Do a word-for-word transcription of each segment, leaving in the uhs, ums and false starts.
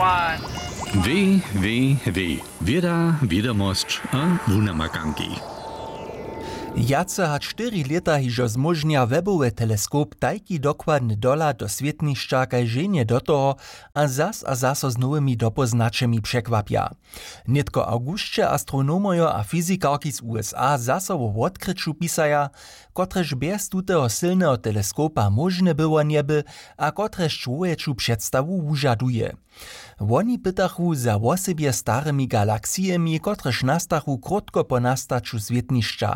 W W W, wěda, wědomosć a wunamakanki. Wjace hač štyri lěta hižo zmóžnja webowy teleskop tajki dokładny dohlad do swětnišća kaž ženje do toho, a zas a zaso z nowymi dopóznaćemi překwapja. Nětko awgusće astronomojo a fyzikarki z U S A zaso wo wotkryću pisaja, kotrež bjez tuteho sylneho teleskopa móžne było njeby, a kotrež čłowječu předstawu wužaduje. Woni pytachu za wosebje starymi galaksijemi, kotrež nastachu krótko po nastaću swětnišća.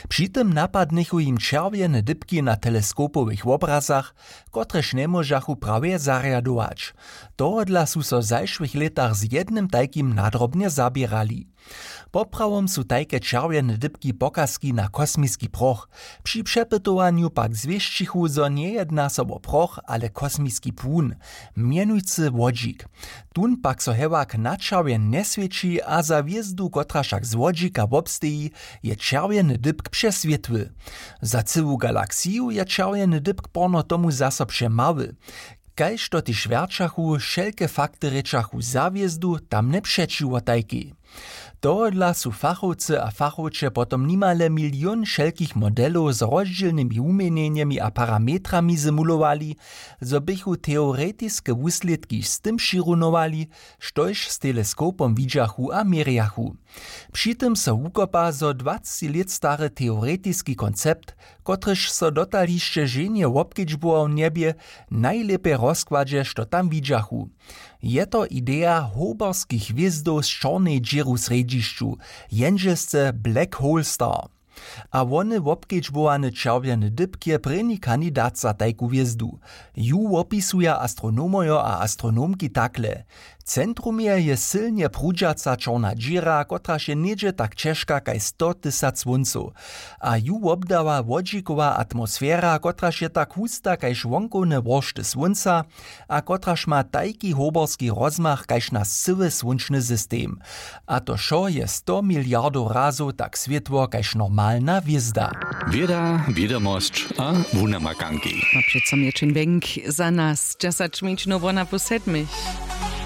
Při tym napadnychu jim čerwjene dypki na teleskopowych wobrazach, kotrež njemóžachu prawje zarjadować. Tohodla su so w zašłych lětach z jednym tajkim nadrobnje zaběrali. Poprawom su tajke čerwjene dypki pokazki na kosmiski proch. Při přepytowanju pak zwěsćichu, zo njejedna so wo proch, ale kosmiski płun, mjenujcy wodźik. Tón pak so hewak na čerwjen njeswěći, a za hwězdu, kotraž wšak z wodźika wobsteji, je čerwjeny dypk přeswětły. Za cyłu galaksiju je čerwjeny dypk porno tomu zaso přemały. Kaž to tež wjerćachu, wšelke fakty rěčachu za hwězdu, tamne přećiwo tajkej. Tohodla su fachowcy a fachowče potom nimale milion wšelkich modelow z rozdźělnymi wuměnjenjemi a parametrami simulowali, zo běchu teoretiske wuslědki z tym přirunowali, štož z teleskopom widźachu a měrjachu. Při tym so wukopa, zo dwacci lět stary teoretiski koncept, kotryž so dotal hišće ženje wobkedźbował njebě, najlěpje rozkładźe, što tam widźachu. Je to ideja hoberskich hwězdow z čornej dźěru w srjedźišću, jendźelsce Black Hole Star. A wony wobkedźbowany čerwjeny dypk je prěni kandidat za tajku hwězdu. Ju wopisuja astronomojo a astronomki takle: W centrumje je sylnje prudźaca čorna dźěra, kotraž je něhdźe tak ćežka kaž sto tysac słóncow. A ju wobdawa wodźikowa atmosfera, kotraž je tak husta kaž wonkowne woršty słónca, a kotraž ma tajki hoberski rozmach kaž naš cyły słónčny system. A to wšo je sto miliardow razow tak swětło kaž normalna hwězda. Wěda, wědomosć a wunamakanki. Ma přeco měćin wjenk za nas dźesać mjenšinow wona po sedmich.